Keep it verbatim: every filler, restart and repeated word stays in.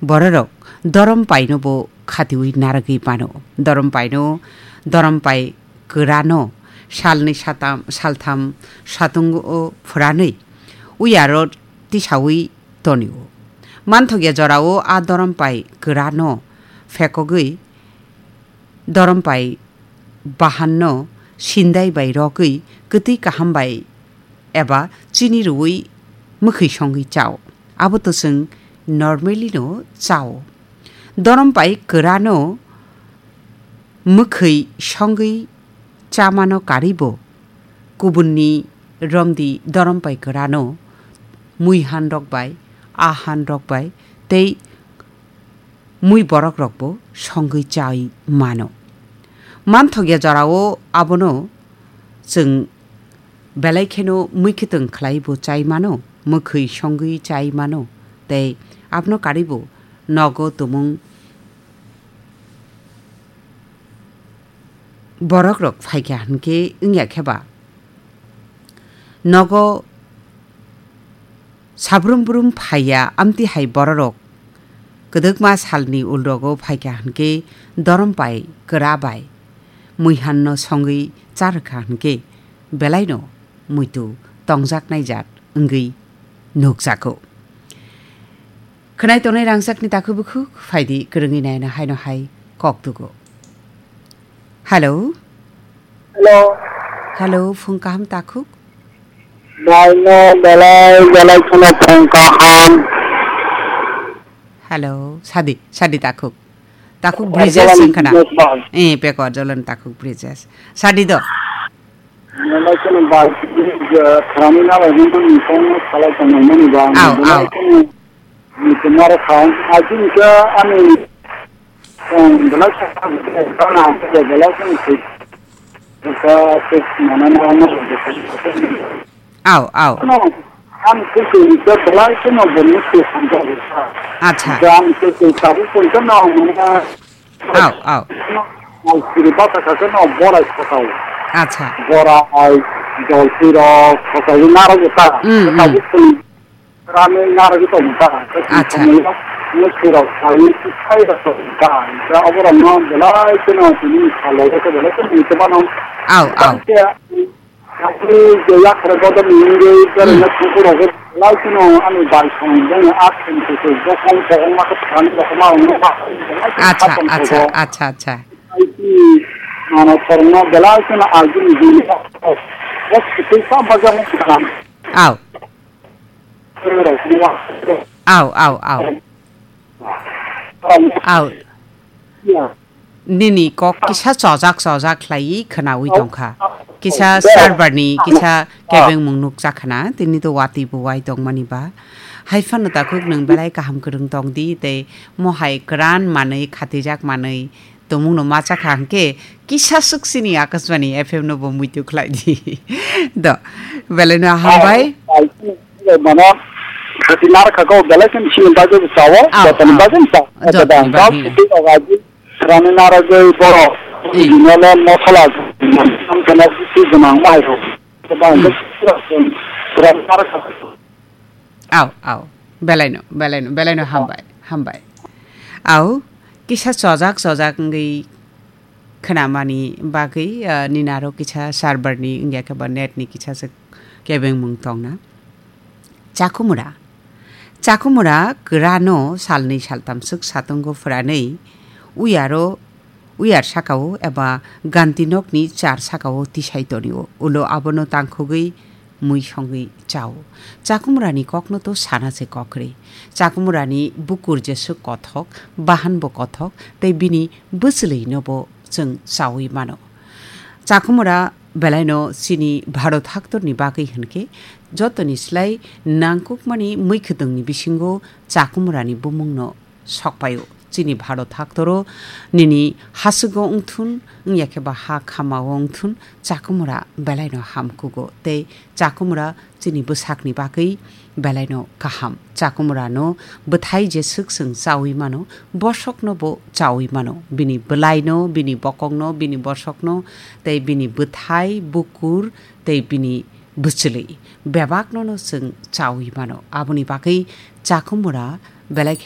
Bororok dorom paino bo khatiwi naragwi mano. Dorom paino, dorom pai kwrano salni satam, saltham satungo phwranwi uyaro tisawi tonio. Manthokya jorao a dorom pai kwrano phekogwi dorom pai bahanno sindai bai rogwi kwtwi kaham bai eba chini rwui mwkhwi songwi chao. Abo to chwng normally no chao. Dorom pai kwrano mwkhwi songwi chamano karibo kubunni romdi dorom pai kwrano mui han rok bai, a han rok bai tei mui borok rokbo songwi chai mano. Manthokya jorao abono chwng belai kheno mui khitwng khlai bo chai mano, mwkhwi songwi chai mano, tei abono karwi bo nogo tumung borok rok phaikha hinkhe wngya khe ba nogo sabrum brum phaiya, amtwi hai bororok kwdwkma salni ulrogo phaikha hinkhe dorom pai kwra bai muihanno songwi charwkha hinkhe belaino muitu tongjaknai jat wngwi nukjago. Khwnai tongnai rangchakni takhuk bukhuk phaidi kwrwngwi naina haino hai kok tugo. Hello. Hello. Hello, phung kaham takhuk? Bai no belai belai kheno phung kaham. Hello, sadi, sadi takhuk. Takhuk Pekor Bridges Jolan wngkhana. Business bai. Eh, Pekor Jolan takhuk Bridges. Sadi do. Belai kheno bai, eh, kharani nalai nini phone salai tongmani ba. Au, belai au. Kheno Ni tumaro kha, ai chini khe ani, um, belai sa, belai sa, belai sa, belai sa, belai sa, belai sa, Au, au. Ano, ang khe khe ni khe belai sa no bo ni khe samjak sa. Acha. Jang khe khe sabu khe no, mane, Au, au. Al siri bata kha khe no borai sakao. Acha. Borai, jol siro, sakao naro ta. Mm, mm. Sakao khe Rani narwgwi tongmani ta, Acha. Mwswirok sai, sai rok tongmani ta. Oborokno belai kheno tini salo khe belai kheno tongmano. Au, au. Tei je yakhrai bodol wngwi, Hmm. berajak kukurok belai kheno ani bai song, bini akheng kukur, bokong, bokong ma khe thani rok ma wngma. Acha, acha, acha, acha. Ai ti mano khorokno belai kheno agini bini. Bos kitui sa bajak. Au. Au, au, au. Au. Nini kok kisa chojak chojak khlaiwi khwnawi tongkha. Kisa server ni kisa kebengmung nukjak khna, tini to watwi bo wai tongmani ba. Hai phano takhuk nwng belai kaham kwrwng tongdi tei mohai kwran manwi khatijak manwi tongmungno ma chakha hwnkhe kisa swk chini Akashbani F M no bo muitu khlai di. Do, belai no hambai. Ai, ai, mano, khati nar kha ko belai khe chini bagwi bo chawo, Au, jotoni au. bagwi bo chawo. Jotoni Dal bagwi. Siti ogaji, rani naragwi boro, Ei. Ginole mosola, am kana sisi gwnang mai ro. Ba Hmm. rani nar kha. Au, au. Belaino, belaino, belaino hambai, hambai. Au, kisa chojak, chojak wngwi khwnamani bagwi, ah, nini aro kisa server ni wngya khe ba net ni kisa se kebengmung tongna. Chakumura. Chakumura kwrano salnwi saltam swk satungo phwranwi uyaro Uyar sakao eba ganti nokni char sakao tisai tonio. Ulo abono tangkhogwi mui songwi chao. Chakumrani kokno to sana se kokre. Chakumrani bukur jeswk kothok, bahan bo kothok, tei bini bwchwlwi no bo chwng chawi mano. Chakumra belaino chini Bharot haktorni bagwi hwnkhe jotoni slai nangkukmani mui khwtwngni bisingo Chakumrani bumungno sokpaio. Chini Bharot haktoro nini haswgo wngthun, wngya khe ba ha khamao wngthun, Chakumura belaino hamkugo tei Chakumura chini bwsakni bagwi belaino kaham. Chakumurano bwthai jeswk chwng chawi mano, bosokno bo chawi mano. Bini bwlaino, bini bokongno, bini bosokno tei bini bwthai, bukur tei bini bwchwlwi bebakno no chwng chawi mano. Aboni bagwi Chakumura belai khe